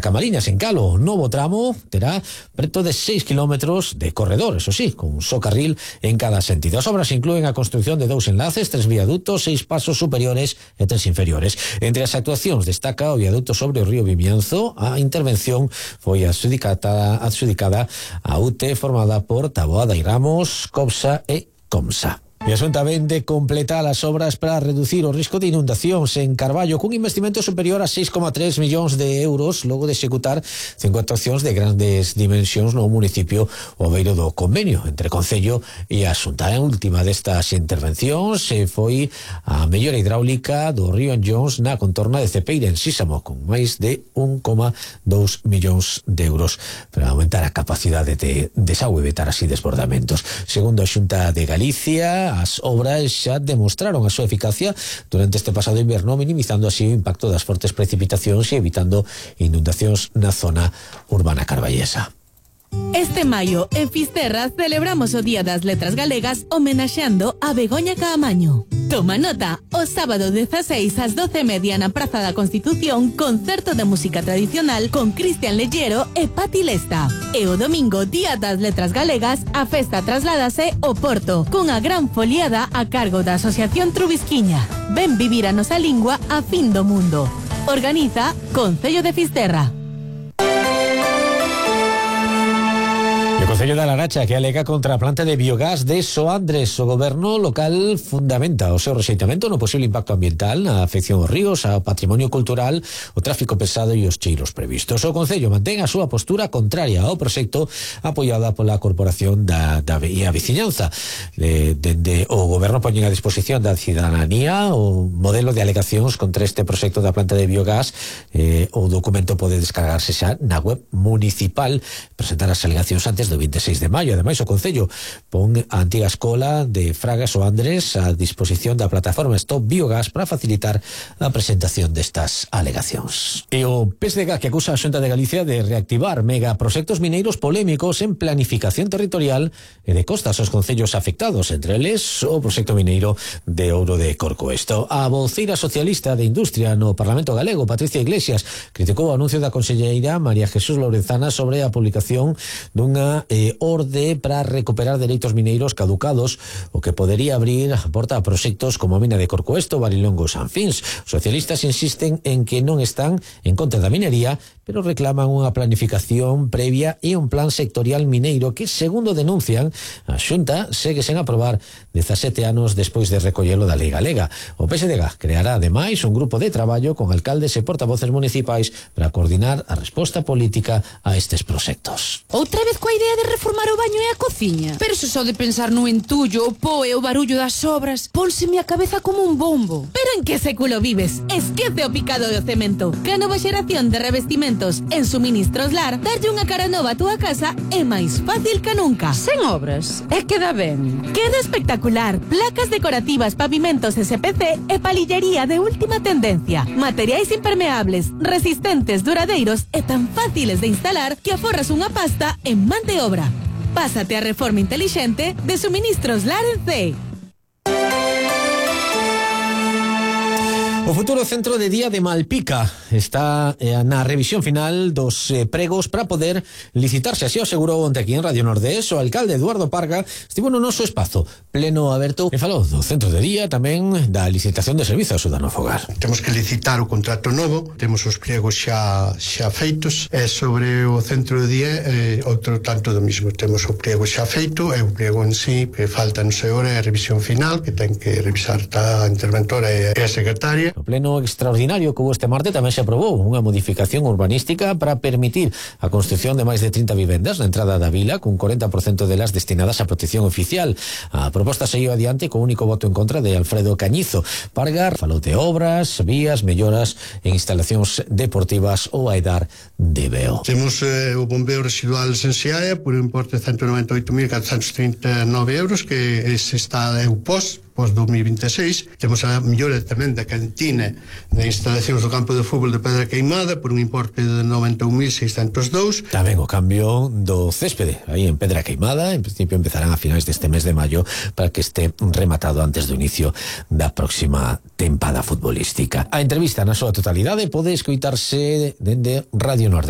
Camaliñas, en Calo. Novo tramo terá preto de 6 kilómetros de corredor, eso sí, con un só carril en cada sentido. As obras inclúen a construcción de 2 enlaces, 3 viadutos, 6 pasos superiores e 3 inferiores. Entre as actuacións destaca o viaduto sobre o río Vimianzo. A intervención foi adxudicada a UTE, formada por Taboada y Ramos, COPSA e COMSA. E a Xunta ven de completar as obras para reducir o risco de inundacións en Carballo cun investimento superior a 6,3 millóns de euros logo de executar 5 actuacións de grandes dimensións no municipio o beiro do convenio entre Concello e a Xunta. A última destas intervencións foi a mellora hidráulica do río Anllóns na contorna de Cepeira en Sísamo con máis de 1,2 millóns de euros para aumentar a capacidade de desagüe e evitar así desbordamentos. Segundo a Xunta de Galicia, as obras xa demostraron a súa eficacia durante este pasado inverno, minimizando así o impacto das fortes precipitacións e evitando inundacións na zona urbana carballesa. Este maio, en Fisterra, celebramos o Día das Letras Galegas homenaxeando a Begoña Caamaño. Toma nota, o sábado 16 ás 12:30 na Praza da Constitución, concerto de música tradicional con Cristian Lellero e Pati Lesta. E o domingo, Día das Letras Galegas, a festa trasládase ao Porto, cunha gran foliada a cargo da Asociación Trubisquiña. Ven vivir a nosa lingua a fin do mundo. Organiza Concello de Fisterra. O Concello da Laracha que alega contra a planta de biogás de Soandres. O goberno local fundamenta o seu rexeitamento no posible impacto ambiental, na afección aos ríos, ao patrimonio cultural, o tráfico pesado e os cheiros previstos. O Concello mantén a súa postura contraria ao proxecto apoiada pola Corporación da Veciñanza. Dende o goberno poñen a disposición da cidadanía o modelo de alegacións contra este proxecto da planta de biogás. O documento pode descargarse xa na web municipal. Presentar as alegacións antes do 26 de maio. Ademais, o Concello pon a antiga escola de Fragas Soandres a disposición da plataforma Stop Biogás para facilitar a presentación destas alegacións. E o PSDG que acusa a Xunta de Galicia de reactivar megaproxectos mineiros polémicos en planificación territorial e de costas aos concellos afectados, entre eles o proxecto mineiro de Ouro de Corcoesto. A voceira socialista de Industria no Parlamento Galego, Patricia Iglesias, criticou o anuncio da conselleira María Jesús Lorenzana sobre a publicación dunha orde para recuperar dereitos mineiros caducados, o que podería abrir a porta a proxectos como a mina de Corcoesto, Barilongo, Sanfins. Os socialistas insisten en que non están en contra da minería, pero reclaman unha planificación previa e un plan sectorial mineiro que, segundo denuncian, a Xunta segue sen aprobar 17 anos despois de recollelo da lei galega. O PSDG creará, ademais, un grupo de traballo con alcaldes e portavoces municipais para coordinar a resposta política a estes proxectos. Outra vez coa idea de reformar o baño e a cociña? Pero se só de pensar no entullo, o pó e o barullo das obras, pónseme a cabeza como un bombo. Pero en que século vives? Esquece o picado do cemento. Que a nova xeración de revestimentos en Suministros Lar, darlle unha cara nova a túa casa é máis fácil que nunca. Sen obras, e queda ben. Queda espectacular. Placas decorativas, pavimentos SPC e palillería de última tendencia. Materiais impermeables, resistentes, duradeiros e tan fáciles de instalar que aforras unha pasta en man de obra. Pásate a reforma intelixente de Suministros Lar en C. O futuro centro de día de Malpica está na revisión final dos pregos para poder licitarse. Así o asegurou onte aquí en Radio Nordés o alcalde Eduardo Parga. Estivo no noso espazo pleno aberto e falou do centro de día, tamén da licitación de servizo ao cidadano fogar. Temos que licitar o contrato novo, temos os pregos xa feitos, e sobre o centro de día outro tanto do mismo. Temos o prego xa feito e o prego en sí que falta non sei hora a revisión final que ten que revisar a interventora e a secretaria. No pleno extraordinario que houve este martes tamén se aprobou unha modificación urbanística para permitir a construción de máis de 30 vivendas na entrada da vila, cun 40% delas destinadas a protección oficial. A proposta seguiu adiante con único voto en contra de Alfredo Cañizo. Parga falou de obras, vías, melloras en instalacións deportivas ou a edar de Beo. Temos o bombeo residual en Seaia por un importe de 198.439 euros, que ese está o pos 2026. Temos a mellora tamén da cantina de instalacións do campo de fútbol de Pedra Queimada por un importe de 91.602. Tamén o cambio do céspede aí en Pedra Queimada, en principio empezarán a finais deste mes de maio para que este rematado antes do inicio da próxima tempada futbolística. A entrevista na súa totalidade pode escoitarse dende Radio Nordés.